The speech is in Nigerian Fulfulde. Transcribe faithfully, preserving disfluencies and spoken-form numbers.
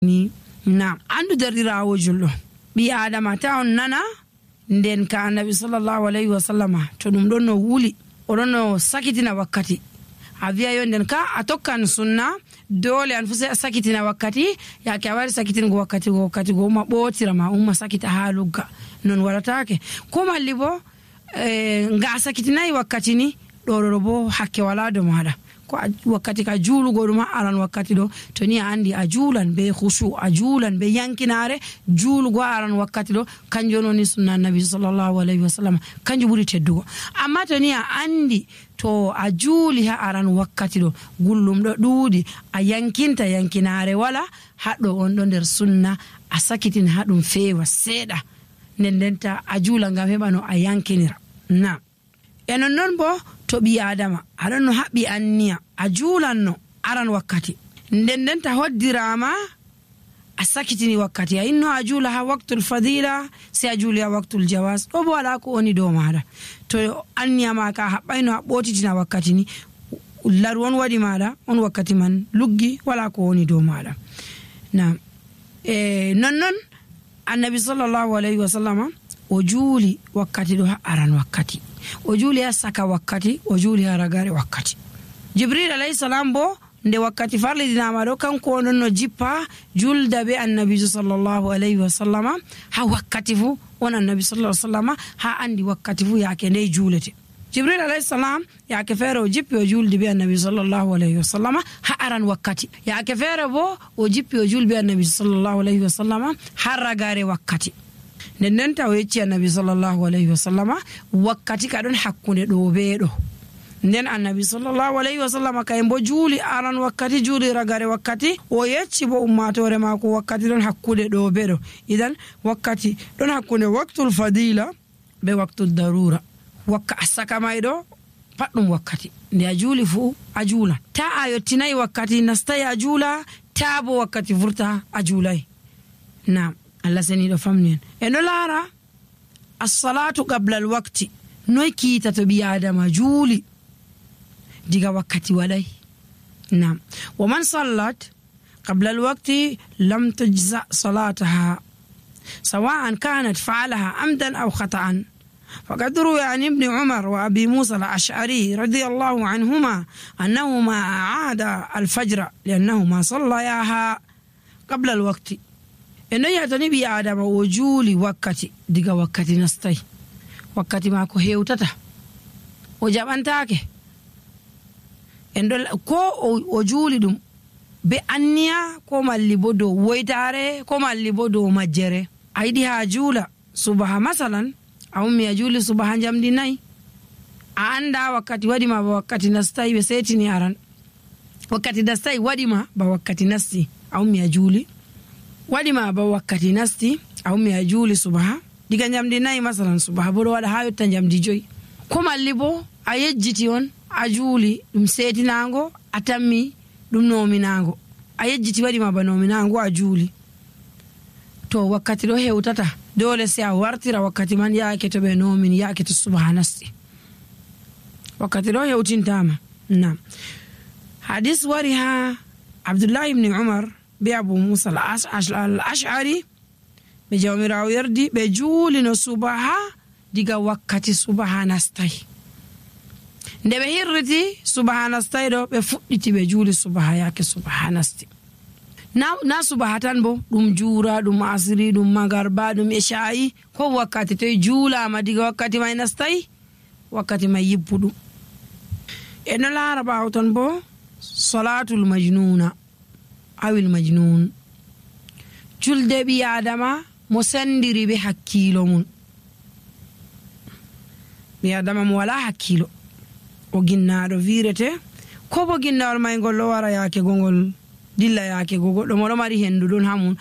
ni na andu derɗirawo julɗo ɓi adama ta on nana nden ka annabi sallallahu alayhi wa sallama to ɗum ɗon no wuli oɗon no sakitina wakkati a wiya yo nden ka a tokkan sunna dole an fu sai a sakitina wakkati yake a wari sakitingo wakkati go wakkati go umma ɓotira ma umma sakita ha lugga non waɗatake ko malli bo e, nga a sakitinayi wakkati ni ɗoɗoɗo bo hakke wala do maɗa ko wakkati ka juulugo ɗum aran wakkati ɗo to ni a andi a juulan be khushu a juulan be yankinare juulugo aran wakkati ɗo kanjum woni sunna annabi sallallahu alayhi wa sallam kanjum ɓuri teddugo amma to ni a andi to a juuli ha aran wakkati ɗo gullum ɗo ɗuuɗi a yankinta yankinare wala haɗɗo on ɗo nder sunna a sakitin ha ɗum feewa seeɗa nden ndenta a juula ngam heɓa no a yankinira na e non noon bo to ɓi adama aɗon no haɓɓi anniya a juulanno aran wakkati nden ndenta hoddirama a sakitini wakkati a inno a juula ha waktul fadila sai a juuli ha waktul jawas ɗo bo wala ko woni dow maɗa to anniya ma ka haɓɓayno a ɓotitina wakkati ni laru on waɗi maɗa on wakkati man luggi wala ko woni dow maɗa na e nonnon annabi sallallahu alayhi wa sallama o juuli wakkati ɗo ha aran wakkati o juuli ha saka wakkati o juuli ha ragare wakkati jibril alayhi salam bo nde wakkati farlidinama ɗo kanko onon no jippa julda be annabijo sallallahu alayhi wa sallama ha wakkati fu on annabi sallallahu alayhi wa sallama ha andi wakkati fu yake nde juulete jibril alayhi salam yake feere o jippi o juldi be annabi sallallahu alayhi wa sallama ha aran wakkati yake feere bo o jippi o julbi annabi sallallahu alayhi wa sallama ha ragare wakkati nden nden taw yecci annabi sallallahu alayhi wa sallama wakkati ka ɗon hakkunde ɗo be ɗo nden annabi sallallahu alayhi wa sallama kay mbo juuli aran wakkati juuli ragare wakkati o yecci bo ummatore mako wakkati ɗon hakkude ɗo be ɗo idan wakkati ɗon hakkunde waktul fadila be waktul darura wakka a saka may ɗo pat ɗum wakkati nde a juuli fu a juula ta a yottinayi wakkati nastayi a juula ta bo wakkati vurta a juulay nam Allah seniɗo famni en e no laara assalatu qabla al waqti noy kiita to ɓi adama juuli diga wakkati waɗay nam wa man sallat qabla al waqti lam tujza salataha sawa'an kanat fa'alaha amdan aw khata'an فقد روي عن ابن عمر وأبي موسى الأشعري رضي الله عنهما أنهما أعاد الفجر لأنهما صلياها قبل الوقت إنه يعتني بي آدم وجولي وقتي ديغا وقتي نستي وقتي ماكو هيوتتا وجابانتاكي إنه كو وجولي دم بأنيا كو مالي بودو ويتاري كو مالي بودو مجري أيدي هاجولا صبح مثلا a ummi a juuli subaha jamdi nayi a anda wakkati waɗima ba wakkati nastayi ɓe setini aran wakkati nastayi waɗima ba wakkati nasti a ummi a juuli waɗima ba wakkati nasti a ummi a juuli subaha diga jamdi nayi masalan subaha bo ɗo waɗa ha yotta jamdi joyi ko malli bo a yejjiti on a juuli ɗum setinago a tammi ɗum nominago a yejjiti waɗima ba nominago a juuli to wakkati ɗo hewtata dole sai a wartira wakkati man yaake to ɓe nomin yaake to subaha nasti wakkati ɗo hewtintama nam hadis wari ha abdoullahi ibni umar be abou moussa al ash'ari ɓe jawmirawo yerdi ɓe juulino subaha diga wakkati subaha nastay nde ɓe hirriti subaha nastay ɗo ɓe fuɗɗiti ɓe juuli subaha yaake subaha nasti na, na subaha tan bo ɗum juura ɗum asiri ɗum magarba ɗum isha'i ko wakkati toye juulama diga wakkati may nastayi wakkati may yibbuɗum e no laara ɓawo ton bo salatul majnuna awil majnun julde ɓi adama mo sendiri ɓe hakkilo mum ɓi adama mo wala hakkilo o ginnaɗo wirete ko bo ginnawol may ngol ɗo wara yaake gongol dilla yaake go goɗɗo moɗo mari hendu ɗon ha mum